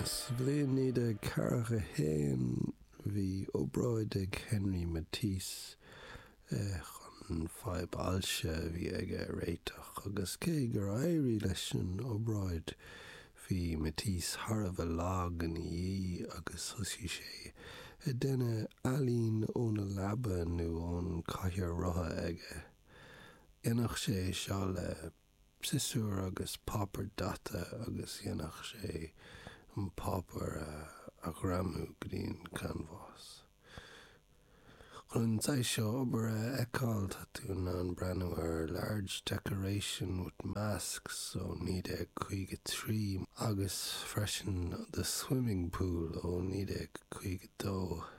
Sa bhliain 1941 bhí obráid ag Henri Matisse chun fadhb ailse a bhí aige a réiteach agus cé gur éirigh leis an obráid bhí Matisse thar a bheith lag ina dhiaidh agus thosaigh sé ag déanamh ealaín óna leaba nó ón cathaoir rotha aige. Dhéanadh sé é seo le siosúr agus páipéar daite agus dhéanadh sé an páipéar a ghreamú go dtí an canbhás. Chun an saghas seo obair a fheiceáil tá tú in ann breathnú ar Large Decoration with Masks ó 1953 agus freisin The Swimming Pool ó 1952.